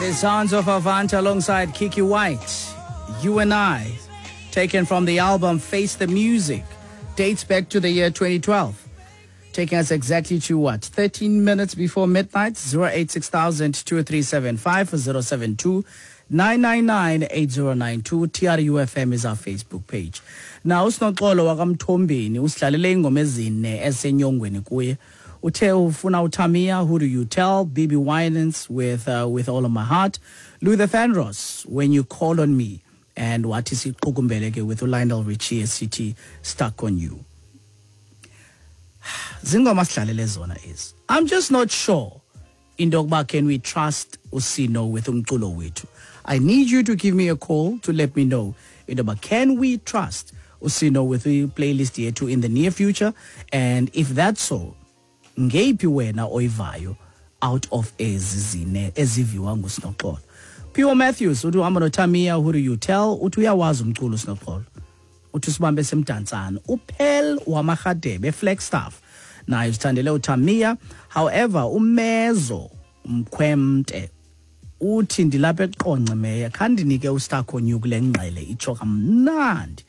The sounds of Avant alongside Kiki White, You and I, taken from the album Face the Music, dates back to the year 2012. Taking us exactly to what? 13 minutes before midnight, 086 2375 072 999 8092. TRUFM is our Facebook page. Now, uSinoxolo wakaMthombeni usidlalele ingoma ezine esenyongweni kuye. Uthe ufuna uTamia, Who Do You Tell, BB Winans with All of My Heart, Luther Vandross, When You Call on Me, and wathi siqukumbele ke with uLionel Richie esithi Stuck on You. Zingoma sidlalele zona ezi. I'm just not sure into yokuba can we trust uSino with umculo wethu. I need you to give me a call to let me know into yoba can we trust uSino with the playlist yethu in the near future, and if that's so, ngeyiphi wena oyivayo out of ezi zine eziviwa nguSinoxolo. Pio Matthews uthi uhamba noTamia, Who Do You Tell, uthi uyawazi umculo uSinoxolo, uthi usibambe semdantsane. Uphel wamaRhadebe Flagstaff naye usithandele uTamia. However, uMezo Mkhwemte uthi ndilapha eQonce meya, khandinike uStuck on You kule ngqele itsho kamnandi.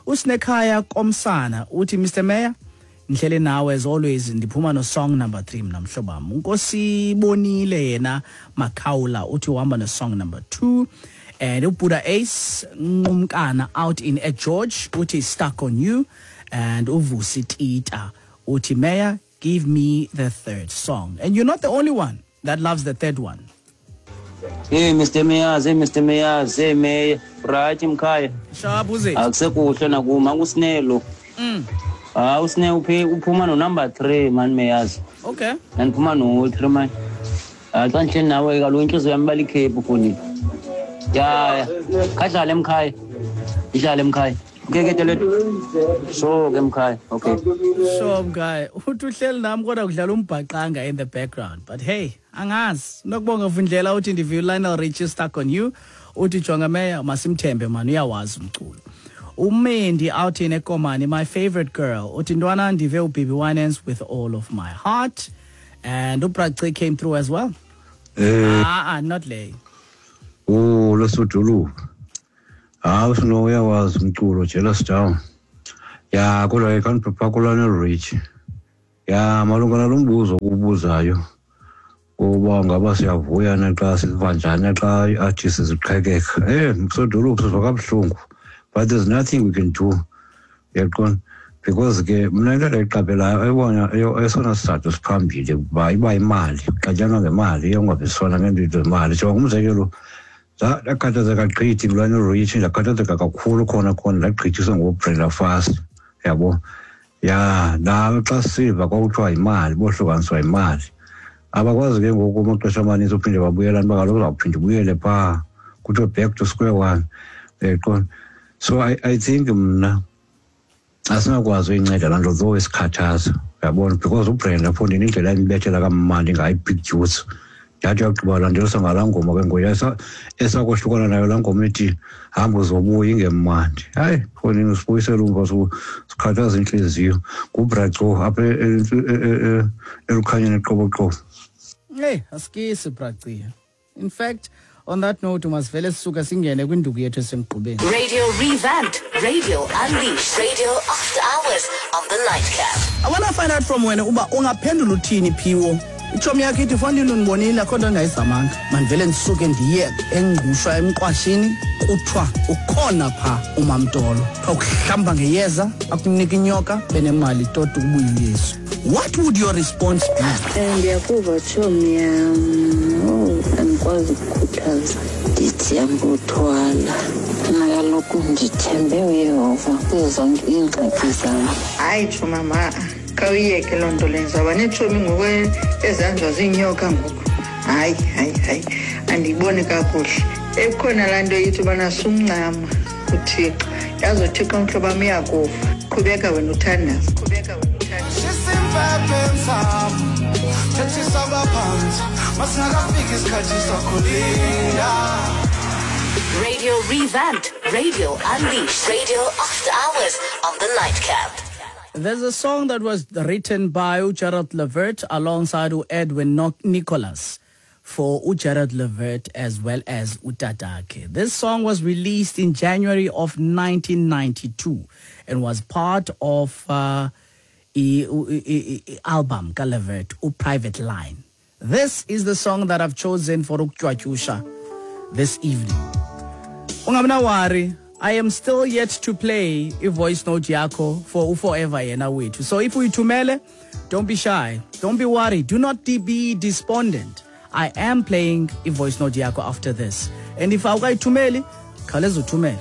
Usinekhaya Komsana uthi Mr Mayor, ndihlele nawe as always, ndiphuma no song number 3 mna mhlobo wam. Unkosi Bonile yena Makhawula uthi uhamba no song number 2. And uBuddha Ace Nqumkana out in George uthi Stuck on You. And uVusi Tita uthi Mayor, give me the third song. And you're not the only one that loves the third one. Hey Mr Mayors, hey Mr Mayors, hey Mayor, right mkhaya. Sharp uze. Akusekuhle nakuma uSinelo. Ah, uSine uphe uphuma no number 3 man Mayors. Okay. Ngiphuma no 3 man. Ah, xa nje nawe kaloku inhliziyo yami balikhephu funi. Ya, khadlale mkhaya. Idlale mkhaya. Okay ke tele. So ke mkhaya. Okay. So mkhaya, uthi uhleli nami kodwa kudlala umbhaqanga in the background. But hey, angazi. Nokubonga Vundlela uthi ndiviwe Lionel Richie Stuck on You. Uthi jonga Mayor, masimthembe man, uyawazi umculo. Umendi out in Ekomani, my favorite girl. Uthi ntwana ndive uBB Winans with All of My Heart. And uBraci came through as well. Not lay. Oh, lesodolophu. Hayi, uSino uyawazi umculo, jealous down. Ya, kodwa ke khandiphapha kuLionel Richie. Ya, malunga nalo mbuzo ubuzayo kuba ngaba siyavuya na xa siva njani xa ii-artists ziqhekeka. Msodolophu siva kabuhlungu, but there's nothing we can do. Uyaqonda? Because ke mna into endiyiqaphelayo eyibona esona sizathu siphambili kuba iba imali, kuxatyanwa ngemali, iyongaviswana ngeento zemali. Jonga umzekelo, ndakhathazeka gqithi nguLionel Richie, ndakhathazeka kakhulu khona khona, ndagqithiswa nguBrenda Fassie, yabo. Ya, nawe xa siva kwakuthiwa yimali, bohlukaniswa yimali. Abakwazi ke ngoku amaxesha amaninzi uphinde babuyelane uba kaloku uzawuphinda ubuyele phaa, kuthiwe back to square one, uyaqonda? So I think mna asinakwazi uyinceda laa nto though isikhathaza, uyabona, because uBrenda mfondini indlela embethela kamandi ngayo i-big juice, ndathi uyagqiba landelisa ngalaa ngoma ke ngoku esakohlukana nayo laa ngoma ethi hamba uzobuya ingemandi. Hayi mfondini, usibuyisele umva, sikhathaza intliziyo. NguBraco apha elukhanyeni eqoboqobo. Hey, asikisi Bracia. In fact, on that note, masivele sisuka singene kwinduku yethu esemgqubeni. Radio Revamped, Radio Unleashed, Radio After Hours on the Nightcap. I want to find out from wena uba ungaphendula uthini Phiwo. Itshomi yakho ithi fondini undibonile akho nto endingayizamanga. Mandivele ndisuke ndiye eNgqushwa emqwashini, kuthiwa ukhona phaa uMamtolo. Kuthiwa ukuhlamba ngeyeza, akunika inyoka, benemali toti ubuye uYesu. What would your response be? Ndiyakuva tshomi yam. Oh, andikwazi ukukhuthaza. Ndithi ambuthwala. Mna kaloku ndithembe uYehova kuzo zonke iingxaki zam. Hayi tshomama, khawuyiyeke loo nto leyo. Ndizawuba neetshomi ngoku ezihanjwa ziinyoka ngoku. Hayi, hayi, hayi, andiyiboni kakuhle. Ekukhona laa nto ithi ubana sumncama kuThixo. Yazi uThixo mhlobo wam uyakuva. Qhubeka wena uthandaze. Qhubeka wena uthandaze. Radio Revamped, Radio Unleashed, Radio After Hours on the Nightcap. There's a song that was written by Gerald Levert alongside Edwin Nicholas. for uGerald Levert as well as utatakhe. This song was released in January of 1992 and was part of i-album kaLevert, uPrivate Line. This is the song that I've chosen for ukutywatyusha this evening. Ungamna worry, I am still yet to play i-voice note yakho for uForever yena wethu. So if uyithumele, don't be shy, don't be worried, do not be despondent. I am playing i-voice note yakho after this. And if awukayithumeli, khawuleza uthumele.